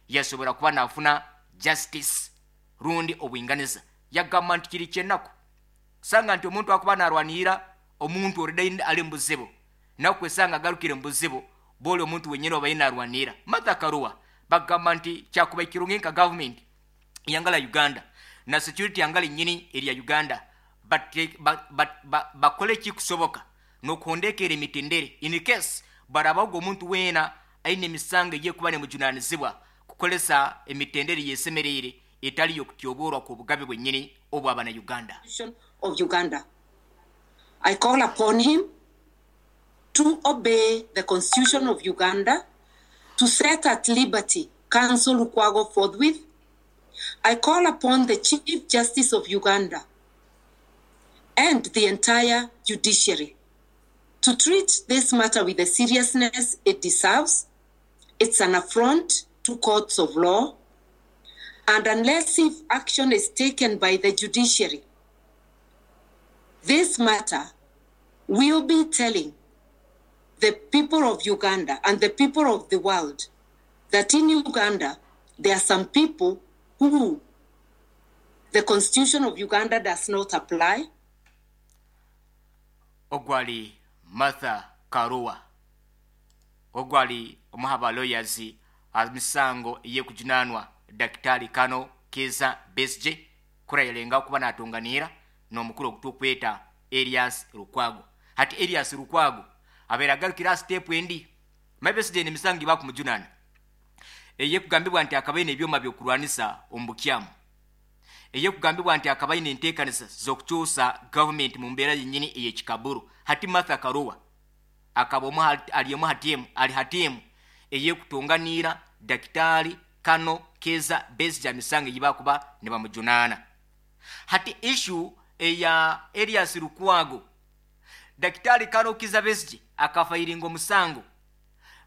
Yasobora kuba nafuna justice rundi obwinganiza. Yagamba nti kiri kyenaku sanga nti omuntu akuba narwanira omuntu already ali mubuzibu, nakwesanga agarukire mubuzibu bwoli omuntu wenyine obaire narwanira. Martha Karua bagamba nti kyakuba kirungi nka government yangala Uganda na security yangala nyini erya Uganda bakole ekikusoboka nokuhondekera emitendere in case barabaho omuntu weena aine emisango eyekuba nemujunanizibwa kukolesa emitendere yesemereire etali yokutyoborwa kw'obugabe bwenyini obw'abana Uganda. Of Uganda. I call upon him to obey the Constitution of Uganda, to set at liberty Counsel Lukwago forthwith. I call upon the Chief Justice of Uganda and the entire judiciary to treat this matter with the seriousness it deserves. It's an affront to courts of law, and unless if action is taken by the judiciary, this matter will be telling the people of Uganda and the people of the world that in Uganda there are some people who the Constitution of Uganda does not apply. Ogwali Martha Karua, ogwali omuha lawyers amisango eyekujunanwa Daktari Kano Kizza Besigye kurayirenga kuba natunganira n'omukuru ogutukweta Erias Lukwago. Hati Erias Lukwago abeera agarukira step endi Besigye emisango bakumujunana eyekugambibwa nti akabaine ebyoma byokurwanisa omu bukyamu, eyekugambibwa nti akabaine enteekanisa z'okukyusa gavumenti mu mbeera yennyini ey'ekikaburu. Hati Martha Karua akaba omu ali omu hatiemu ali hatiemu eyekutunganiira Daktari Kano Kizza Besigye emisango eyibakuba nibamujunaana. Hati issue eya Erias Lukwago, Daktari Kano Kizza Besigye akafayiringa omusango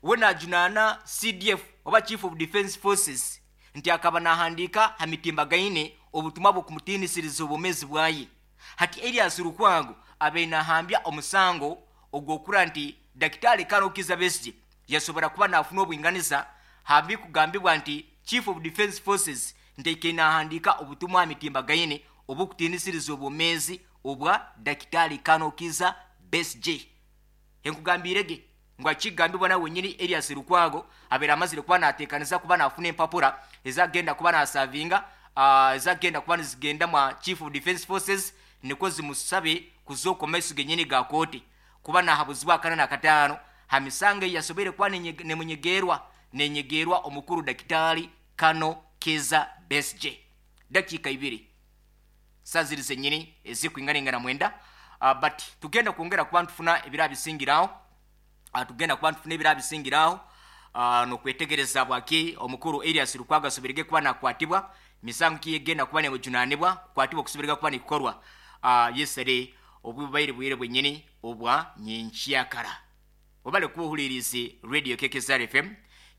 we najunaana CDF oba Chief of Defense Forces nti akaba nahandiika ha mitimbagaine obutumwa bw'okumutiinisiriza obwomeezi bwaye. Hati Erias Lukwago abaire nahambya omusango ogwokura nti Daktari Kano Kizza Besigye yasobora kuba nafuna obwinganiza hambi kugambibwa nti Chief of Defense Forces nti aikaire nahandiika obutumwa ha mitimbagaine obukutiinisiriza obwomeezi obwa Daktari Kano Kizza Besigye. Enkugambirege ngu akigambibwa nawe wenyini Erias Lukwago abeera amazire kuba nateekaniza kuba nafuna empapura ezagenda kuba nasavinga ezagenda kuba nizigenda mwa Chief of Defense Forces nikwo zimusabe kuzooka omu maiso genyini ga kooti kuba nahabuzibwa akana nakataano ha misango eyasoboire kuba nemunyegerwa nenyegerwa omukuru Daktari Kano Kizza Besigye. Dakiika ibiri saa ziri zenyini ezikwinganingana 9, but tugenda kwongera kuba ntufuna ebira bisingiraho, tugenda kuba ntufuna ebira bisingiraho nokwetegereza bwaki omukuru Erias Lukwago asobirege kuba nakwatibwa, misango kiyegenda kuba nemujunanibwa kukwatibwa okusobirega kuba nikukorwa yesere obubaire bwire bwenyini obwa nyenkyakara. Obale kuba ohulirize Radio KKZR FM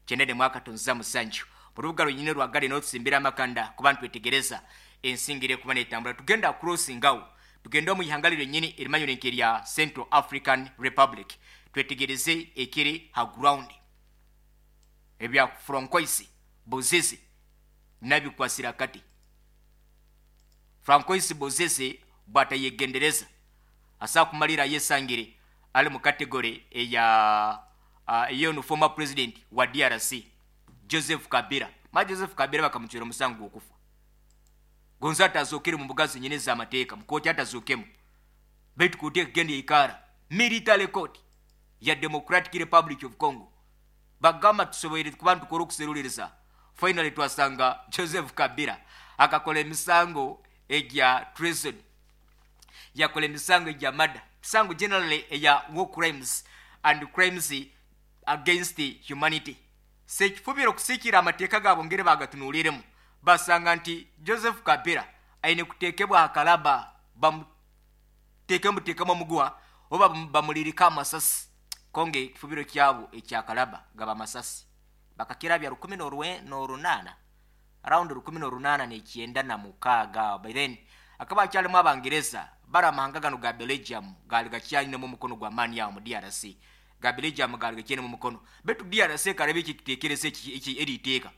97. Orubuga lwenyini rwagale n'otusimbira amakanda kuba ntwetegereza ensingire kuba netambula. Tugenda crossing awo tugenda omu ihanga lyenyini erimanyire nk'erya Central African Republic, twetegereze ekiri ha ground ebya Francois Bozize nabikwasira kati. Francois Bozize bwatayegendereza asa kumalira yesangire ali mu category eya ey'ono former president wa DRC Joseph Kabila. Ma Joseph Kabila bakamucwera omusango gw'okufa, gonza atazookere mu mbuga zenyini ez'amateeka mu kooti atazookemu, baitu kooti ekagenda yaikara military court ya Democratic Republic of Congo. Bagamba tusoboire kuba ntukora okuseruliriza, finally twasanga Joseph Kabila akakola emisango egya treason, yakola emisango egya murder, misango generally eya war crimes and crimes against humanity. Sekifubiro okusikira amateeka gaabo ngeri bagatunuliremu basanga nti Joseph Kabila aine kuteekebwa akalaba bamuteekemu teekemu omuguwa oba bamulirika amasasi konge ekifubiro kyabo ekyakalaba gaba amasasi bakakirabya 1800, around 1896. By then akaba akyalimu Abangereza bari amahanga gano ga Belgium gali gakyalinemu omukono gwa maani awo mu DRC, ga Belgium gali gakyinemu omukono, betu DRC karebe ekitekerezo eki eriteeka.